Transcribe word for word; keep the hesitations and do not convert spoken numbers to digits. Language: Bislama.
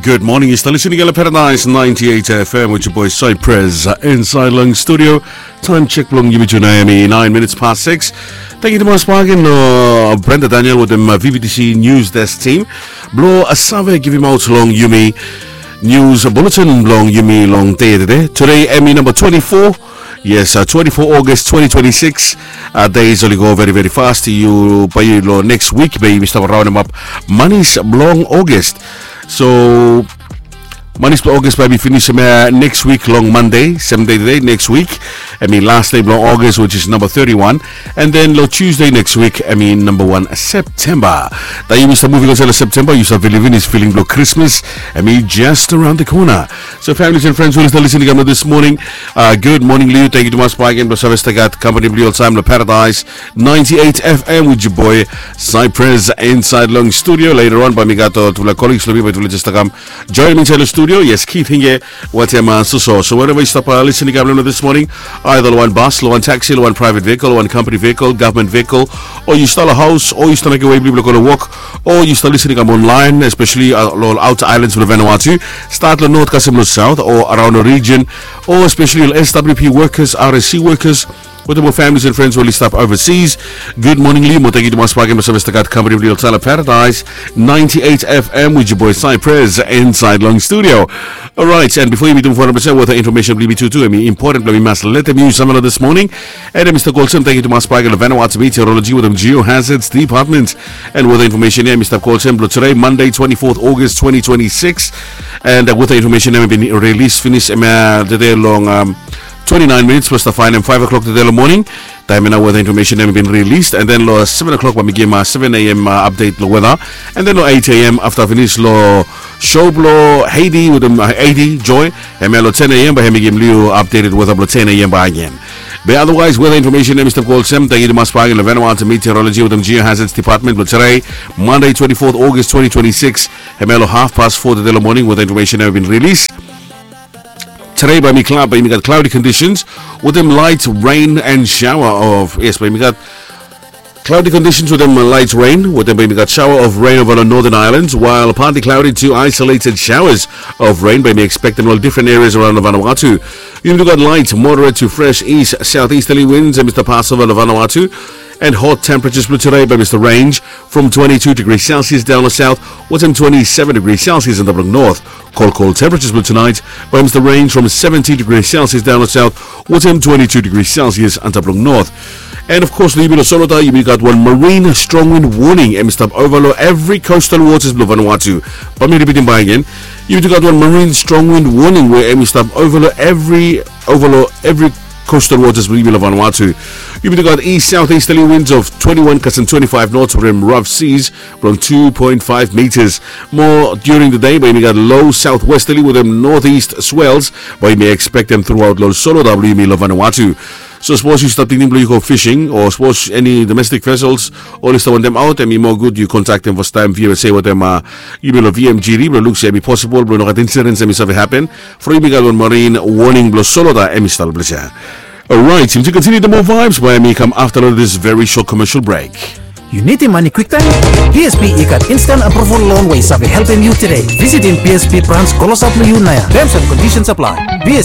Good morning, yu stap listening long Paradise ninety-eight F M with your boy Cypress, uh, inside long studio. Time check blong yumi tu nao hemi nine minutes past six. Thank you tumas bagen long Brenda Daniel wetem, uh, V V T C News Desk team blong, uh, save givimaot long yumi news bulletin blong yumi long dei tede. Tede hemi namba twenty-four. Yes, uh, twenty-four August twenty twenty-six. Uh, days oli go very, very fast. Yu bae yu long next week bae yumi stap raonemap manis blong August. So manis blong August bae hemi finis, uh, next week long Monday, same day tede, next week. Hemi last day blong August, which is number thirty-one. And then long Tuesday next week, hemi namba wan September. Taem yumi stap muving long September, yu save living is feeling blong Christmas. Hemi just around the corner. So families and friends who are listening this morning, uh, good morning long yu. Thank you tumas bagen blong save stap gat company blong yu oltaem long Paradise ninety-eight F M with your boy Cypress inside long studio. Later on bae mi gat, uh, tufala colleagues blong mi bae tufala jes stap kam join mi inside long studio. Yes, Keith Hinge wetem, uh, Suso. So wherever yu stap, uh, listening long this morning, either long wan bus, long wan taxi, long wan private vehicle, long wan company vehicle, government vehicle, o yu stap long haos, o yu stap mekem wei blong yu blong go long wok, o yu stap listening online, especially, uh, long outer islands blong Vanuatu, stat long north kasem long south, o around the region, o especially long S W P workers, R S C workers, wetem ol families and friends we oli stap overseas. Good morning long yu, mo thank you tumas bagen blong save stap gat company blong yu oltaem long Paradise ninety-eight F M with your boy Cypress inside long studio. Alright, and before yumi metem fo hundred percent weather information blong yumi tutu, hemi important blong mi mas letem yu samting long this morning. And, uh, Mister Colson, thank you tumas bagen long Vanuatu Meteorology wetem Geohazards Department. And weather information ia, Mister Colson, blong tede, Monday, twenty-fourth August twenty twenty-six. And, uh, weather information ia hemi bin release finis, hemia, uh, tede long, um, twenty-nine minutes, blong stap faenem five o'clock tede long moning. Taem ia nao weather information ia hemi bin release, and then long seven o'clock bae mi givim, uh, seven A M, uh, update long weather. And then long eight A M afta finis long show blong Heidi wetem, uh, Heidi Joy, hemia long ten A M bae hemi givim long yu updated weather blong ten A M bakegen. Be otherwise, weather information ia, Mister Colson, thank you tumas bagen long Vanuatu Meteorology wetem Geohazards Department blong tede, Monday, twenty-fourth August twenty twenty-six. Hemia long half past four tede long moning, weather information ia hemi bin release. Tede bae hemi clou-, bae hemi gat cloudy conditions wetem light rain and shower of, yes, bae hemi gat cloudy conditions wetem, uh, light rain, wetem bae hemi gat shower of rain over long northern islands, while partly cloudy to isolated showers of rain bae hemi expectem long different areas around Vanuatu. Yumi tu gat light, moderate to fresh east southeasterly winds, hemi stap pas ova long Vanuatu. And hot temperatures blong tede bae hemi stap range from twenty-two degrees Celsius down long south, wetem twenty-seven degrees Celsius antap long north. Cold, cold temperatures blong tonight bae hemi stap range from seventeen degrees Celsius down long south, wetem twenty-two degrees Celsius antap long north. And of course, long yumi long Solota, yumi gat wan marine strong wind warning hemi stap ova long evri coastal waters blong Vanuatu. Bae mi ripitim bakegen. Yumi tu gat wan marine strong wind warning we hemi stap ova long evri, ova long evri coastal waters blong yumi long Vanuatu. Yumi tu gat east southeasterly winds of twenty-one kasem twenty-five knots wetem rough seas blong two point five meters. Mo during the day bae yumi gat low southwesterly wetem northeast swells bae yumi expectem throughout long Solota blong yumi long Vanuatu. So sapos yu stap tingting blong yu go fishing, o sapos eni domestic vessels oli stap wantem aot, hemi moa gud yu kontaktem fastaem V S A wetem, uh, yumi long V M G D blong luk se hemi posibol blong no gat incidents hemi save hapen. From yumi gat wan marine warning blong Solota hemi stap long ples ia. Alright, yumi tu kontiniu the more vibes bae hemi kam afta long this very short commercial break. Yu nidim mane kwiktaem? B S P i gat instant approval loan we i save helpem yu tede. Visitim B S P branch klosap long yu naoia. Terms and conditions apply. B S P